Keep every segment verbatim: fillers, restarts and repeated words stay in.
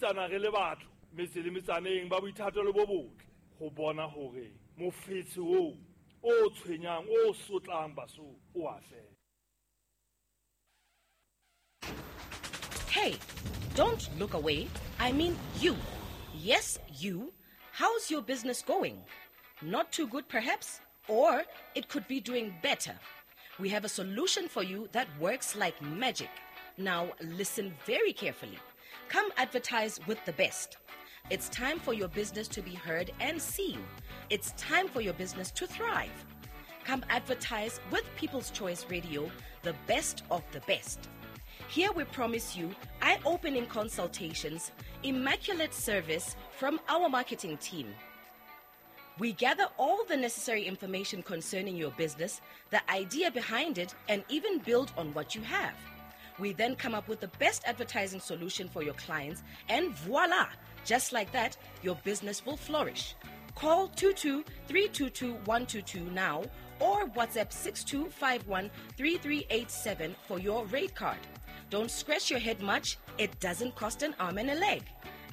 sebedisana re le batho metse le metsaneng ba boithatelo bo botle go bona hore mofetshe oo o tshwenyang o sotlang Basotho o a fela. Hey, don't look away. I mean you. Yes, you. How's your business going? Not too good, perhaps? Or it could be doing better. We have a solution for you that works like magic. Now, listen very carefully. Come advertise with the best. It's time for your business to be heard and seen. It's time for your business to thrive. Come advertise with People's Choice Radio, the best of the best. Here we promise you eye-opening consultations, immaculate service from our marketing team. We gather all the necessary information concerning your business, the idea behind it, and even build on what you have. We then come up with the best advertising solution for your clients, and voila! Just like that, your business will flourish. Call two two three two two one two two now or WhatsApp six two five one three three eight seven for your rate card. Don't scratch your head much. It doesn't cost an arm and a leg.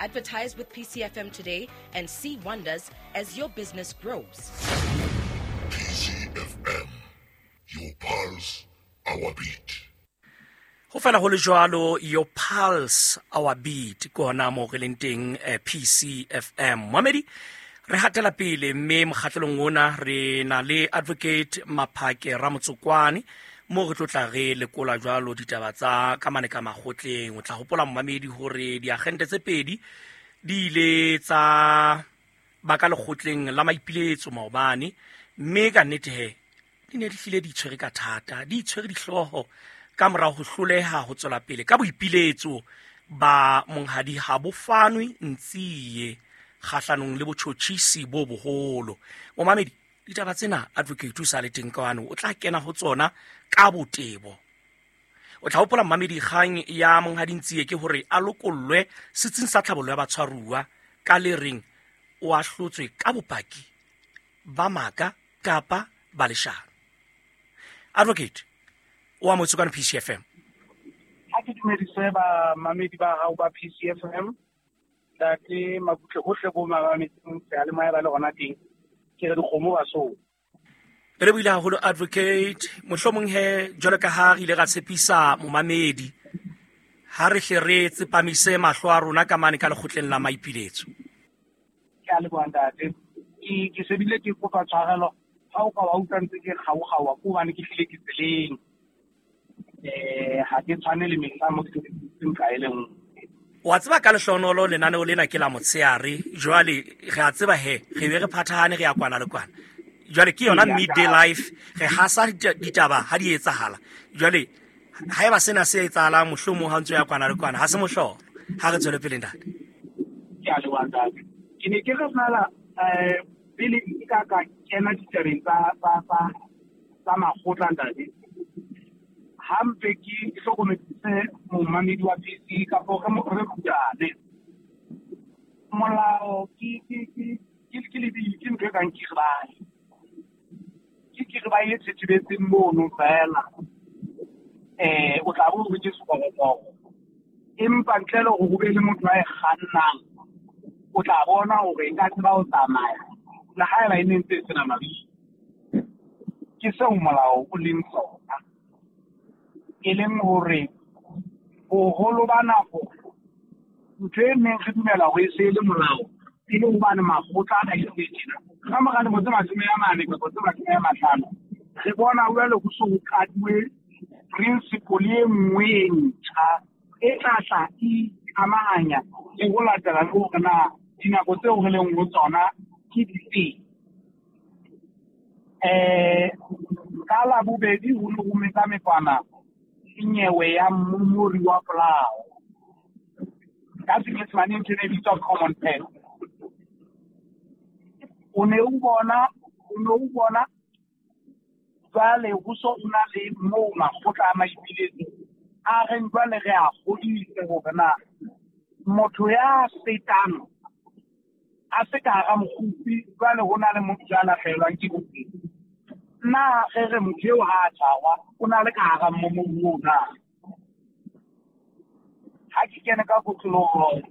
Advertise with P C F M today and see wonders as your business grows. P C F M, your pulse, our beat. Ho fela ho le jwalo, your pulse, our beat, ke hona moo re leng teng, eh, P C F M. Momedi, re hatela pele mme mokgahlelong ona re na le Advocate Maphake Ramotsokwane mo re tlo tla re lekola jwalo ditaba tsa ka mane ka makgotleng. O tla hopola momamedi hore diagente tse pedi di ile tsa ba ka lekgotleng la maipiletso maobane, mme ka nnete he di ne di hlile di itshwere ka thata, di itshwere dihlooho ka morao ho hloleha ho tswela pele ka boipiletso ba monghadi ha bo fanwe Ntsie kgahlanong le botjhotjhisi bo boholo. Momamedi, ditaba tsena Advocate o sa le teng kwano, o tla kena ho tsona ka botebo. O tla hopola momamedi, kgang ya monghadi Ntsie ke hore a lokollwe setsing sa tlhabollo ya batshwaruwa ka le reng o ahlotswe ka bopaki ba maka kapa ba leshano. Advocate, o amohetswe kwano P C F M. Ha ke dumedise ba mamedi ba hao ba P C F M, ntate Mabutle hohle bo mametseng seyalemoya ba le hona teng, ke re dikgomo ba so. Re buile haholo Advocate, mohlomong he jwalo ka ha re ile ra tshepisa momamedi, ha re hle re tsepamise mahlo a rona ka mane ka lekgotleng la maipiletso. Ke a leboha ntate. Ke, ke sebile ke kopa tshwarelo ha o ka wa utlwa ntse ke kgaokgaoa ke hobane ke hlile ke tseleng. Eh, ha ke tshwane le mehla mo ke seng ka e le nngwe. Wa tseba ka lehlohonolo lenaneo lena ke la motshehare, jwale re a tseba he re be re phathahane re ya kwana le kwana. Jwale ke yona midday life, re hasa ditaba ha di etsahala. Jwale haeba sena se etsahalang mohlomong ha ntse ya kwana le kwana, ha se mohlolo. Ha re tswele pele ntate. Ke a leboha ntate. Ke ne ke re fela, eh, pele ke ka ka kena ditabeng tsa, tsa, tsa, tsa makgotla ntate. Hampe ke hlokomedise momamedi wa P C kapo re mo re rutane. Molao ke, ke, ke, ke, ke lebili, ke ntho e kang kiribae. Ke kiribae e thethebetseng mono feela. Eh, o tla bo o re ke sekorokoro. Empa ntle le hore ho be le motho a e kgannang, o tla bona hore e ka tseba ho tsamaya le haeba e ne ntse e sena mabidi. Ke seo molao o leng sona. E leng hore boholo ba nako ntho e neng re dumela hore e se e le molao e le hobane makgotla a ile tjena. Ka mora dilemo tse mashome a mane kapa tse mashome a mahlano, re bona jwale ho so ho qaduwe principle e nngwe e ntjha e tla tla e amahanya le ho latela le hore na dinako tseo re leng ho tsona ke dife. Eh, ka Labobedi ho ne ho mekamekwana nyewe ya mmumori wa polao. Ka Senyesemane ntho e bitswa common pen. O ne o bona, o ne o bona jwale ho so o na le moo makgotla a maipiletso a reng jwale re a kgodise hore na motho ya fetang a se ka hara mokgupi, jwale ho na le motho ya lahlehelwang ke bophelo. Na re re motho eo ha a tshwarwa o na le ka hara mmomori oo na? Ha ke kene ka kotloloho